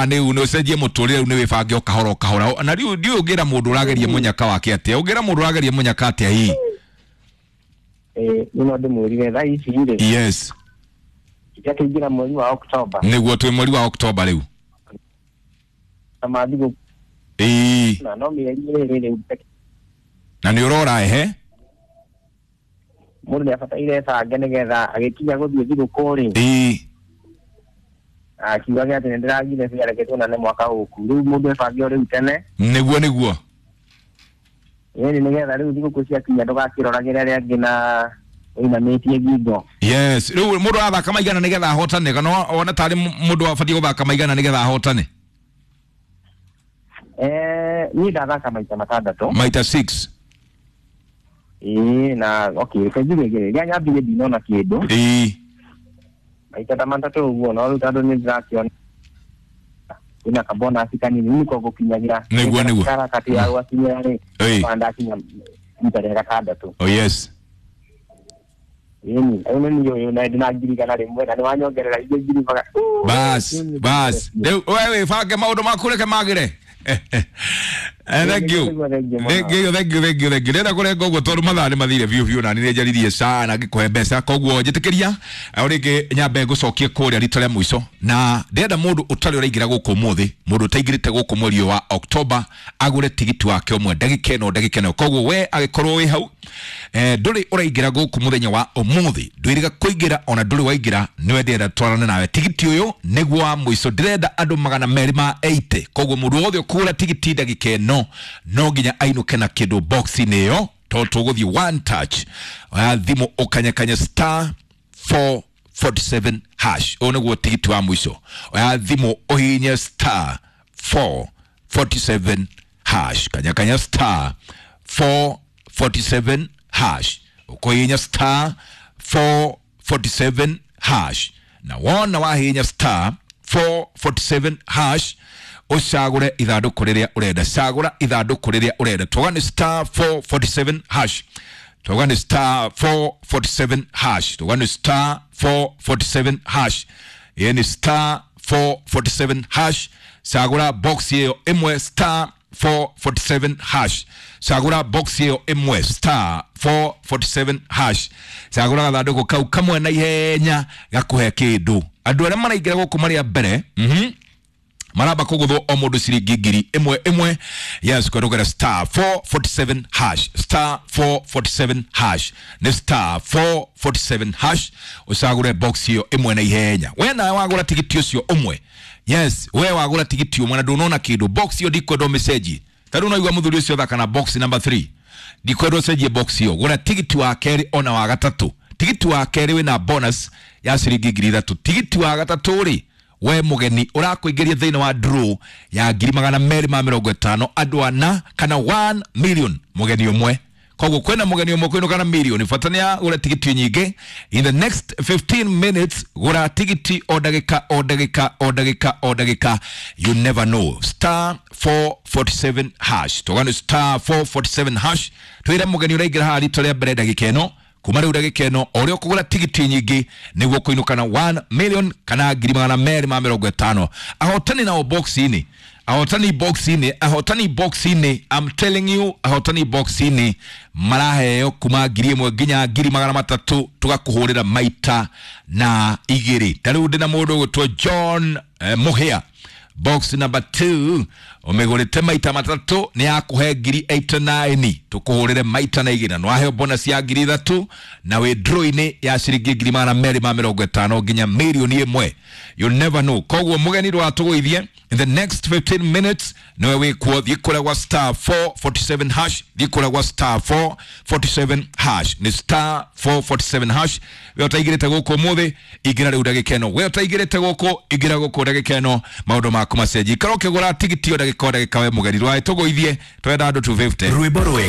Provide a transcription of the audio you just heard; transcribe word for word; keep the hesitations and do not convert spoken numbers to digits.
Mathaa nĩ nĩ ũcenjie mũtũrĩre rĩu, nĩ wĩbange o kahora o kahora. Na rĩu ndiũĩ ũngĩra mũndũ ũrageria mũnyaka wake atĩa, ũngĩra mũndũ ũrageria mũnyaka atĩa hihi? Ĩĩ, nĩ no ndĩmwĩrire thaa ici rĩ, yes akĩingĩra mweri wa Oktoba. Nĩguo, twĩ mweri wa Oktoba rĩu. Na mathigũ Ĩĩ. Na no mĩeri ĩrĩ rĩu. Na nĩ ũrora ehe. Mũndũ nĩ abataire ebange nĩgetha agĩkinya gũthiĩ thigũkũ rĩ, Ĩĩ. akiugage atĩ nĩ ndĩragire bia, reke tuonane mwaka ũku. Rĩu mũndũ ebange o rĩu tene. Nĩguo nĩguo. Ĩni, nĩgetha rĩu thigũkũ ciakinya ndũgakĩroragĩre arĩa angĩ na ũinamĩtie ngingo. Yes, rĩu mũndũ arathaka maigana nĩgetha ahotane, kana wona tarĩ mũndũ abatiĩ gũthaka maigana nĩgetha ahotane? Eh, niĩ ndathaka maita matandatũ. Maita six. Ĩĩ, na okay, reke njuge rĩrĩa nyambirie ndinona kĩndũ. Ĩĩ. Maita ta matatũ ũguo, no rĩu tondũ nĩ ndĩrakĩona kwĩna kabonasi kanini nĩko gũkinyagĩra Nĩguo, nĩguo. karakati ya gwakinyĩra rĩ, Ĩĩ. kwa ndakinya rita rĩa gatandatũ. Oh yes. Ĩni, rĩu nĩ niĩ ũyũ na ndĩna ngiri igana rĩmwe na nĩ wanyongerera ingĩ ngiri maga. Bas bas, rĩu we wĩbange maũndũ maku, reke magĩre. Eh, thank you. Nĩguo, thank you mũno. Thank you, thank you, thank you, thank you. Ndĩrenda kũrenga ũguo tondũ mathaa nĩ mathire biũ biũ, na nĩ njaririe sana ngĩkũhe mbeca, koguo njĩtĩkĩria o rĩngĩ nyambe ngũcokie kũrĩa rita rĩa mũico. Na ndĩrenda mũndũ ũtarĩ ũraingĩra gũkũ ũmũthĩ, mũndũ ũtaingĩrĩte gũkũ mweri ũyũ wa Oktoba, agũre tigiti wake ũmwe ndagĩka ĩno, ndagĩka ĩno. Koguo we agĩkorwo wĩ hau, eh, ndũrĩ ũraingĩra gũkũ mũthenya wa ũmũthĩ, ndwĩrĩga kũingĩra, ona ndũrĩ waingĩra, nĩwe ndĩrenda twarane nawe. Tigiti ũyũ nĩguo wa mũico, ndĩrenda andũ magana merĩ ma eighty. Koguo mũndũ wothe ũkũgũra tigiti ndagĩka ĩno no nginya ainũke na kĩndũ box-inĩ ĩyo, tondũ tũgũthiĩ one touch. Oya thimũ ũkanyakanya star four forty-seven hash. Ũyũ nĩguo tigiti wa mũico. Oya thimũ ũhihinye star four forty-seven hash, kanyakanya star four forty-seven hash. Ũkũhihinya star four forty-seven hash, na wona wahihinya star four forty-seven hash, ũcagũre ithandũkũ rĩrĩa ũrenda. Cagũra ithandũkũ rĩrĩa ũrenda. Twoga nĩ star four forty-seven hash, twoga nĩ star four forty-seven hash, twoga nĩ star four forty-seven hash. Ĩĩ, nĩ star four forty-seven hash. Cagũra box ĩyo ĩmwe, star four forty-seven hash. Cagũra box ĩyo ĩmwe, star four forty-seven hash. Cagũra gathandũkũ kau kamwe na ihenya gakũhe kĩndũ. Andũ arĩa maraingĩra gũkũ marĩ a mbere, mhm maramba kũgũthwo o mũndũ ciringi ngiri ĩmwe ĩmwe. Yes, kũhetũkĩra star four forty-seven hash, star four forty-seven hash, nĩ star four forty-seven hash. Ũcagũre box ĩyo ĩmwe na ihenya. We nawe wagũra tigiti ũcio ũmwe, yes, we wagũra tigiti ũmwe na ndũnona kĩndũ, box ĩyo ndikwenda ũmĩcenjie. Ta rĩu noigua mũthuri ũcio thaka na box number three, ndikwenda ũcenjie box ĩyo. Gũra tigiti wa kerĩ ona wa gatatũ. Tigiti wa kerĩ wĩna bonus ya ciringi ngiri ithatũ. Tigiti wa gatatũ rĩ, we mũgeni ũrakũingĩria thĩinĩ wa draw ya ngiri magana merĩ ma mĩrongo ĩtano andũ ana, kana one million mũgeni ũmwe. Koguo kwĩna mũgeni ũmwe kwĩnũka na milioni, bata nĩ agũre tigiti nyingĩ. In the next fifteen minutes, gũra tigiti o ndagĩka o ndagĩka o ndagĩka o ndagĩka. You never know. Star four forty-seven hash, tũgani star four forty-seven hash. Twĩre mũgeni ũraingĩra haha rita rĩa mbere ndagĩka ĩno, kuma rĩu ndagĩka ĩno, o ũrĩa ũkũgũra tigiti nyingĩ nĩguo kũinũka na one million kana ngiri magana merĩ ma mĩrongo ĩtano. Ahotani nao box-inĩ, ahotani box-inĩ, ahotani box-inĩ, I'm telling you, ahotani box-inĩ maraheo kuma ngiri ĩmwe nginya ngiri magana matatũ, tũgakũhũrĩra maita na igĩrĩ. Ta rĩu ndĩna mũndũ ũgwĩtwo John eh, Mũhĩa, box number two, ũmĩgũrĩte maita matatũ, nĩ yakũhe ngiri eighty-nine, tũkũhũrĩre maita na igĩrĩ, na nĩwaheo bonus ya ngiri ithatũ, na wĩ draw-inĩ ya ciringi ngiri magana merĩ ma mĩrongo ĩtano nginya mirioni ĩmwe. You never know. Koguo mũgeni ndũgatũgũithie. In the next fifteen minutes niwe wĩkuo. Thiĩ kũrĩa gwa star four forty-seven hash, thiĩ kũrĩa gwa star four forty-seven hash, nĩ star four forty-seven hash. We ũtaingĩrĩte gũkũ ũmũthĩ, ingĩra rĩu ndagĩka ĩno. We ũtaingĩrĩte gũkũ, ingĩra gũkũ ndagĩka ĩno, maũndũ maku macenji. Ikara ũkĩgũra tigiti o ndagĩka o ndagĩka. We mũgeni, ndũgagĩtũgũithie, twenda andũ two fifty. Rwĩmbo rwega.